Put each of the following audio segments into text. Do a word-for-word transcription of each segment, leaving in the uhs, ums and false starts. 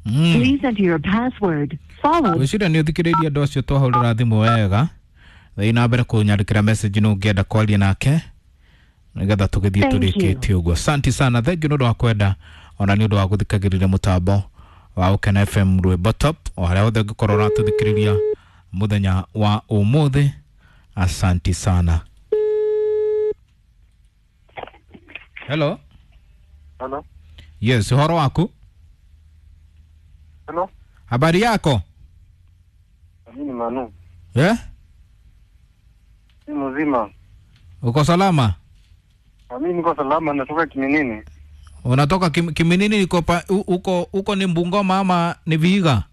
Mm. Please enter your password followed Gwĩciria nĩ ũthikĩrĩirie andũ acio twahũrĩra thimũ wega. Thiĩ na mbere kũnyandĩkĩra message nũ ũngĩenda kwaria nake nĩgetha tũgĩthiĩ Thank you. tũrĩkĩtie ũguo. Asante sana, thank you nĩ ũndũ wa kwenda ona nĩ ũndũ wa gũthikagĩrĩria mũtambo wa Ũkena F M Rwĩmbo Top o harĩa hothe ũngĩkorwo ũratũthikĩrĩria mũthenya wa ũmũthĩ. Asante sana. Hello. Hello. Yes, ũhoro waku? Hello. Habari yako? Mimi ni Manu. Eh? Ni mzima. Uko salama? Mimi niko salama, natoka Kiminini. Unatoka kim, Kiminini iko pa, u- uko uko ni Bungoma ama ni Vihiga?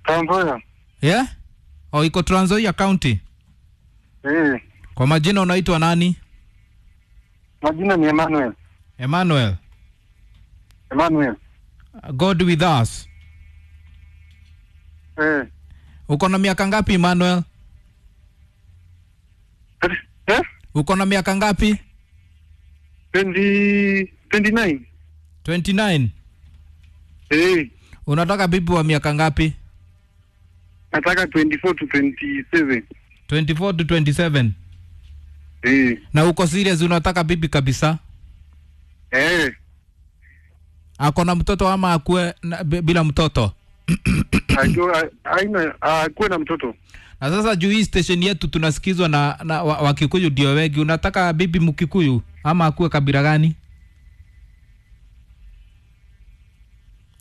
Trans Nzoia. Yeah? Oh, iko Trans Nzoia County. Eh, Kwa majina unaitwa nani? majina ni Emmanuel. Emmanuel. Emmanuel. God with us. Eh. Uko na miaka ngapi Emmanuel? Eh? Uko na miaka ngapi? twenty, twenty-nine. twenty-nine. Eh. Unataka bibi wa miaka ngapi? Nataka twenty-four to twenty-seven. twenty-four to twenty-seven. Eh. Na uko serious unataka bibi kabisa? Eh. Ako na mtoto ama akue na, bila mtoto? Ajua aina akuwe na mtoto. Na sasa juu hii station yetu tunasikizwa na, na wa, Wakikuyu ndio wengi. Unataka bibi Mkikuyu ama akuwe kabila gani?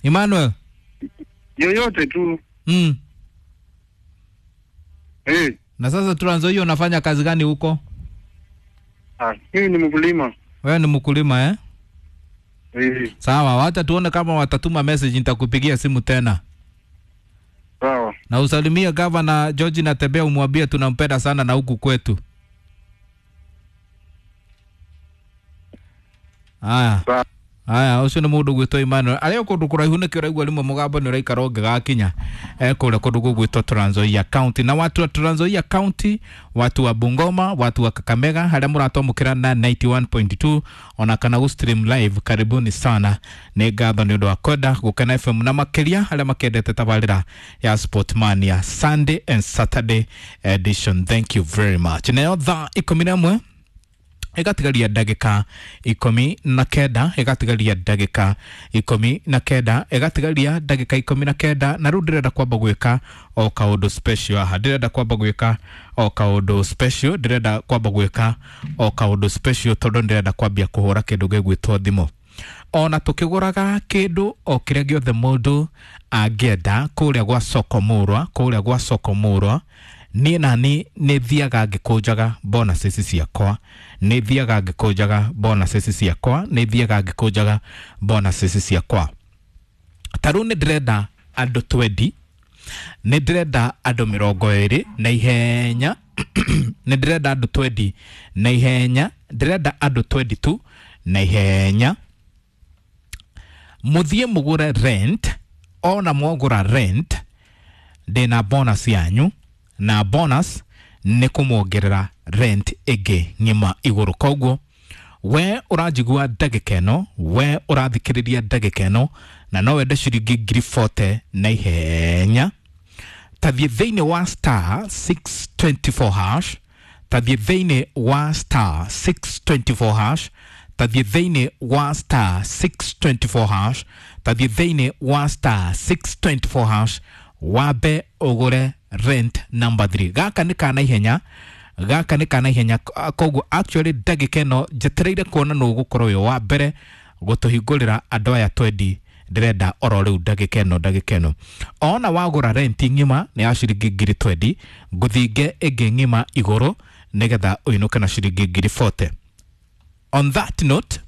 Emmanuel? Yoyote tu. Mm. Eh. Na sasa Trans Nzoia unafanya kazi gani huko? Ah, mimi ni mkulima. Wewe ni mkulima eh? Eh. Sawa, wacha tuone kama watatuma message, nitakupigia simu tena. Sawa. Na usalimie Governor George Natembeya, umwambie tunampenda sana na huku kwetu. Aya. Sawa. Aya, ucio nĩ mũndũ gwĩtwo Emmanuel. Arĩa kũndũ kũraihu nĩkĩo ũraigua rĩmwe mũgambo nĩ ũraikara ũngĩgakinya. Eh, kũrĩa kũndũ gũgwĩtwo Trans Nzoia County. Na watu wa Trans Nzoia County, watu wa Bungoma, watu wa Kakamega, harĩa mũratwamũkĩra na ninety-one point two ona kana gũ stream live, karibuni sana. Nĩ ngatho nĩ ũndũ wa kwenda Gũkena F M na makĩria arĩa makendete tabarĩra ya Sportmania Sunday and Saturday edition. Thank you very much. Nayo thaa ikũmi na ĩmwe ĩgatigaria ndagĩka ikũmi na kenda, ĩgatigaria ndagĩka ikũmi na kenda, ĩgatigaria ndagĩka ikũmi na kenda. Na rĩu ndĩrenda kwamba gwĩka o kaũndũ special haha, ndĩrenda kwamba gwĩka o kaũndũ special, ndĩrenda kwamba gwĩka o kaũndũ special tondũ ndĩrenda kwambia kũhũra kĩndũ gĩgwĩtwo thimũ. Ona tũkĩgũraga kĩndũ o kĩrĩa gĩothe mũndũ angĩenda kũrĩa gwa Soko Mũrwa, kũrĩa gwa Soko Mũrwa, niĩ nani nĩ thiaga ngĩkũnjaga bonuses ciakwa, nĩ thiaga ngĩkũnjaga bonuses ciakwa, nĩ thiaga ngĩkũnjaga bonuses ciakwa. Ta rĩu nĩ ndĩrenda andũ twenty, nĩ ndĩrenda andũ mĩrongo ĩrĩ na ihenya, nĩ ndĩrenda andũ twenty na ihenya, ndĩrenda andũ twenty-two na ihenya. Mũthiĩ mũgũre rent, ona mwagũra rent ndĩna bonus yanyu, na bonus nĩ kũmuongerera rent ĩngĩ ng'ima igũrũ. Koguo we ũranjigua ndagĩka ĩno, we ũrathikĩrĩria ndagĩka ĩno, na no wende ciringi ngiri forty na ihenya, tathiĩ thĩinĩ wa star six twenty-four hash, tathiĩ thĩinĩ wa star six twenty-four hash, tathiĩ thĩinĩ wa star six twenty-four hash, tathiĩ thĩinĩ wa star six twenty-four hash, wambe ũgũre rent number three. Gaka nĩ kana ihenya, gaka nĩ kana ihenya. Koguo actually ndagĩka ĩno njetereire kuona nũ ũgũkorwo wĩ wa mbere gũtũhingũrĩra andũ aya twenty. Ndĩrenda oro rĩu ndagĩka ĩno, ndagĩka ĩno. Ona wagũra rent ng'ima nĩ ya ciringi ngiri twenty, ngũthinge ĩngĩ ng'ima igũrũ nĩgetha ũinũke na ciringi ngiri forty. On that note,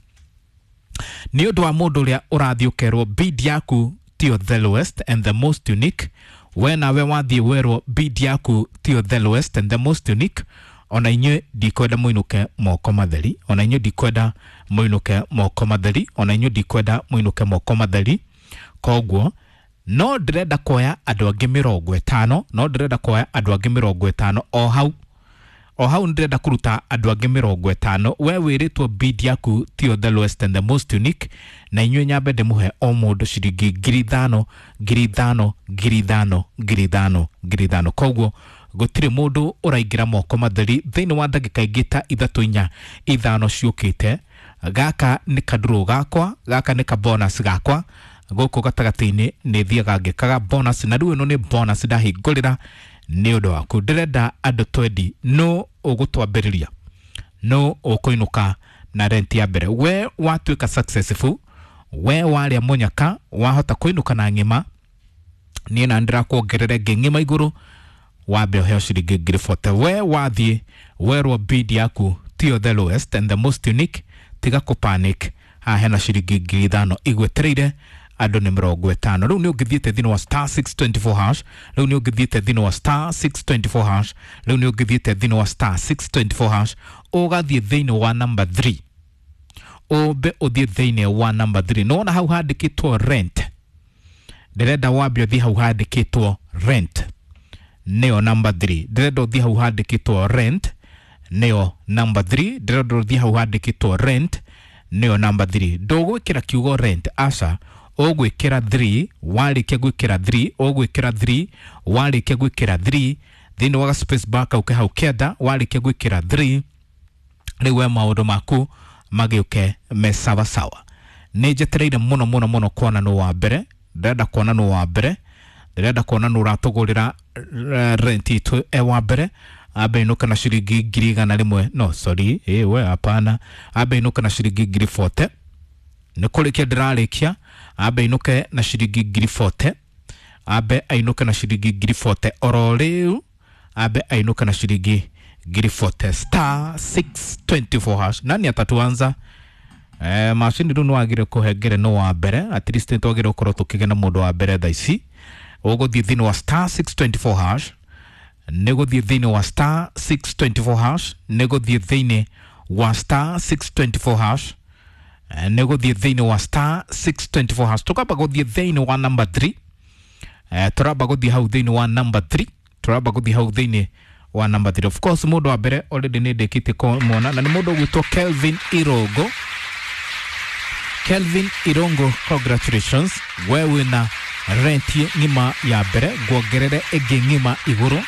nĩ ũndũ wa mũndũ ũrĩa ũrathiĩ ũkerwo bid yaku tiyo the lowest and the most unique, we nawe wathiĩ werwo bid yaku tiyo the lowest and the most unique, ona inyuĩ ndikwenda mũinũke moko matheri, ona inyuĩ ndikwenda mũinũke moko matheri, ona inyuĩ ndikwenda mũinũke moko matheri. Koguo no ndĩrenda kuoya andũ angĩ mĩrongo ĩtano, no ndĩrenda kuoya andũ angĩ mĩrongo ĩtano o hau. O hau ndĩrenda kũruta andũ angĩ mĩrongo ĩtano. We wĩrĩtwo bid yaku tiyo the lowest and the most unique, na inyuĩ nyambe ndĩmũhe o mũndũ ciringi ngiri ithano, ngiri ithano, ngiri ithano, ngiri ithano, ngiri ithano. Koguo gũtirĩ mũndũ ũraingĩra moko matheri thĩinĩ wa ndagĩka ingĩ ta ithatũ, inya, ithano ciũkĩte. Gaka nĩ kaduro gakwa, gaka nĩ kabonus gakwa gũkũ gatagatĩ-inĩ nĩ thiaga ngĩkaga bonus, na rĩu ĩno nĩ bonus ndahingũrĩra nĩ ũndũ waku. Ndĩrenda andũ twendi, no ũgũtwambĩrĩria, no ũkũinũka na rent ya mbere. We watuĩka successful, we warĩa mũnyaka, wahota kũinũka na ng'ima, niĩ na ndĩrakuongerera ĩngĩ ng'ima igũrũ, wambe ũheo ciringi ngiri forty. We wathiĩ werwo bid yaku tiyo the lowest and the most unique, tiga kũ panic, haha hena ciringi ngiri ithano igwetereire andũ nĩ mĩrongo ĩtano. Rĩu nĩ ũngĩthiĩte thĩinĩ wa star six twenty four hash, rĩu nĩ ũngĩthiĩte thĩinĩ wa star six twenty four hash, rĩu nĩ ũngĩthiĩte thĩinĩ wa star six twenty four hash, ũgathiĩ thĩinĩ wa number three, ũmbe ũthiĩ thĩinĩ wa number three. Nĩwona hau handĩkĩtwo rent, ndĩrenda wambe ũthiĩ hau handĩkĩtwo rent, nĩyo number three. Ndĩrenda ũthiĩ hau handĩkĩtwo rent, nĩyo number three. Ndĩrenda ũthiĩ hau handĩkĩtwo rent, nĩyo number three. Ndũgwĩkĩra kiugo rent, aca, ũgwĩkĩra three. Warĩkia gwĩkĩra three, ũgwĩkĩra three. Warĩkia gwĩkĩra three thĩinĩ wa space bar kau ke hau kĩanda, warĩkia gwĩkĩra three, rĩu we maũndũ maku magĩũke me sawa sawa. Nĩ njetereire mũno mũno mũno kuona nũ wa mbere, ndĩrenda kuona nũ wa mbere, ndĩrenda kuona nũ ũratũgũrĩra rent itũ e wa mbere. Ambe inũka na ciringi ngiri igana rĩmwe, no sorry, ĩ we hapana, ambe inũka na ciringi ngiri forty. Nĩ kũrĩkia ndĩrarĩkia, ambe inũke na ciringi ngiri forty, ambe ainũke na ciringi ngiri forty oro rĩu, ambe ainũke na ciringi ngiri forty. Star six twenty four hash. Nani atatuanza? Eh, macini rĩu nĩwagĩrĩire kũhengere no wa mbere, at least nĩtwagĩrĩire gũkorwo tũkĩgĩa mũndũ wa mbere thaa ici. Ũgũthiĩ thĩinĩ wa star six twenty four hash, nĩ gũthiĩ thĩinĩ wa star six twenty four hash, nĩ gũthiĩ thĩinĩ wa star six twenty four hash, nĩ gũthiĩ thĩinĩ wa star six twenty four hash. Tũkamba gũthiĩ thĩinĩ wa number three, eh, tũramba gũthiĩ hau thĩinĩ wa number three, tũramba gũthiĩ hau thĩinĩ wa number three. Of course mũndũ wa mbere already nĩ ndĩkĩtie kũmuona, na nĩ mũndũ ũgwĩtwo Kelvin Irongo. Kelvin Irongo, congratulations, we wĩna rent ng'ima ya mbere, nguongerere ĩngĩ ng'ima igũrũ,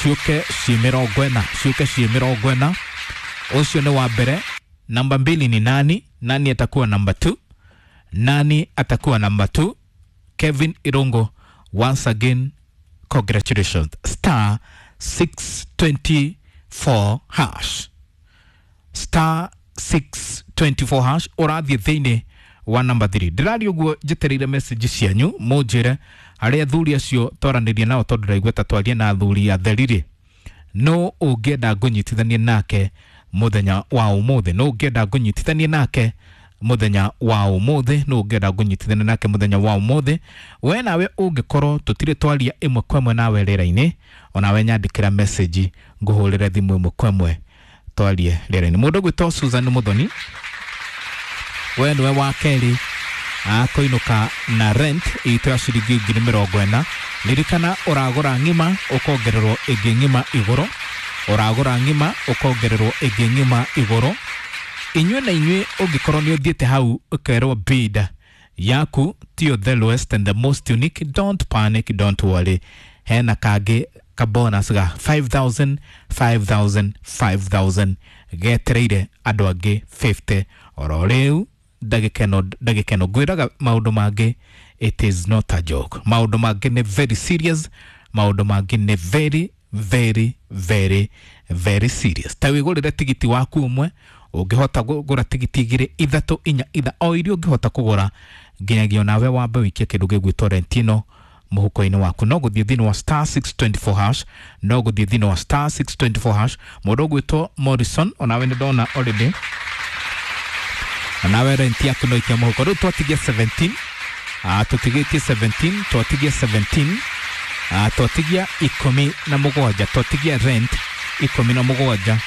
ciũke ciĩ mĩrongo ĩna, ciũke ciĩ mĩrongo ĩna. Ũcio nĩ wa mbere. Namba mbili ni nani? Nani atakuwa namba two? Nani atakuwa namba two? Kevin Irongo, once again congratulations. Star six twenty four hash, star six twenty four hash, ũrathiĩ thĩinĩ wa number three. Ndĩraria ũguo njetereire message cianyu mũnjĩre arĩa athuri acio twaranĩria nao, tondũ ndaigua ta twarie na athuri atheri-rĩ, no ũngĩenda ngũnyitithanie nake mũthenya wa ũmũthĩ, no ũngĩenda ngũnyitithanie nake mũthenya wa ũmũthĩ, no ũngĩenda ngũnyitithanie nake mũthenya wa ũmũthĩ. We nawe ũngĩkorwo tũtirĩ twaria ĩmwe kwa ĩmwe nawe rĩera-inĩ, onawe nyandĩkĩra message ngũhũrĩre thimũ ĩmwe kwa ĩmwe twarie rĩera-inĩ. Mũndũ ũgwĩtwo Susan Muthoni, we nĩwe wa kerĩ akũinũka na rent itũ ya ciringi ngiri mĩrongo ĩna. Ririkana ũragũra ng'ima ũkongererwo ĩngĩ ng'ima igũrũ, ũragũra ng'ima ũkongererwo ĩngĩ ng'ima igũrũ. Inyuĩ na inyuĩ ũngĩkorwo nĩ ũthiĩte hau ũkerwo bid yaku tiyo the lowest and the most unique, don't panic, don't worry, hena kangĩ ka bonus ga five thousand, five thousand, five thousand getereire andũ angĩ fifty oro rĩu. Ndagĩka ĩno, ndagĩka ĩno ngwĩraga maũndũ mangĩ, it is not a joke. Maũndũ mangĩ nĩ very serious, maũndũ mangĩ nĩ very very very very serious. Ta wĩgũrĩre tigiti waku ũmwe, ũngĩhota kũgũra tigiti igĩrĩ, ithatũ, inya, itha, o iria ũngĩhota kũgũra, nginyagia onawe wambe wĩikie kĩndũ gĩgwĩtwo rent ĩno mũhuko-inĩ waku. No gũthiĩ thĩinĩ wa star six twenty four hash, no gũthiĩ thĩinĩ wa star six twenty four hash. Mũndũ ũgwĩtwo Morrison, onawe nĩ ndona already, onawe rent yaku no ikia mũhuko. Rĩu twatigia seventeen, ah, tũtigĩtie seventeen, twatigia seventeen, ah, twatigia ikũmi na mũgwanja, twatigia rent ikũmi na mũgwanja,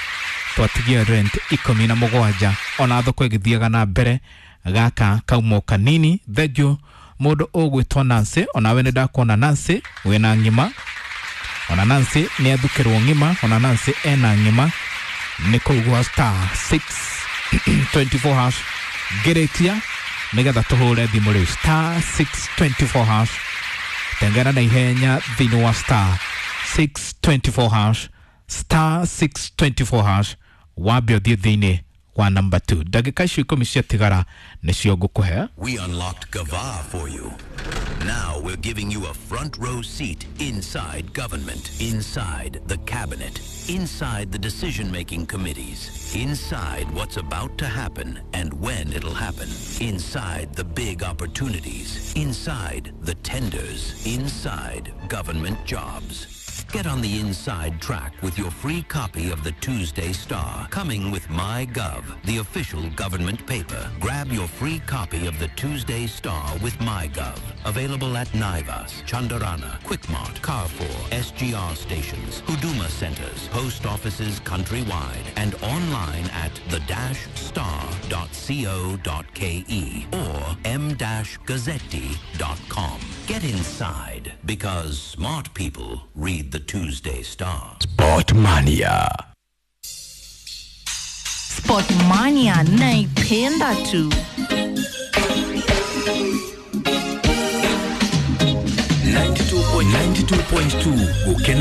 twatigia rent ikũmi na mũgwanja. Ona thoko ĩgĩthiaga na mbere, gaka kauma kanini. Thengiũ mũndũ ũgwĩtwo Nancy, onawe nĩ ndakuona Nancy wĩna ng'ima. Ona Nancy nĩ athukĩrwo ng'ima, ona Nancy ena ng'ima nĩ kũu gwa star six twenty four hash. Ngĩrĩkia nĩgetha tũhũre thimũ rĩu star six twenty four hash, tengera na ihenya thĩinĩ wa star six twenty four hash, star six twenty four hash, wambe ũthiĩ thĩinĩ wa number two. Ndagĩka icio ikũmi ciatigara nĩcio ngũkũhe. We unlocked Gava for you. Now we're giving you a front row seat inside government, inside the cabinet, inside the decision-making committees, inside what's about to happen and when it'll happen, inside the big opportunities, inside the tenders, inside government jobs. Get on the inside track with your free copy of the Tuesday Star, coming with MyGov, the official government paper. Grab your free copy of the Tuesday Star with MyGov. Available at Naivas, Chandarana, Quickmart, Carrefour, S G R stations, Huduma centers, post offices countrywide, and online at the dash star dot co dot K E or m dash gazzetti dot com. Get inside, because smart people read the Tuesday Star. Sportmania. Sportmania naipenda tu. ninety-two point two Gukena.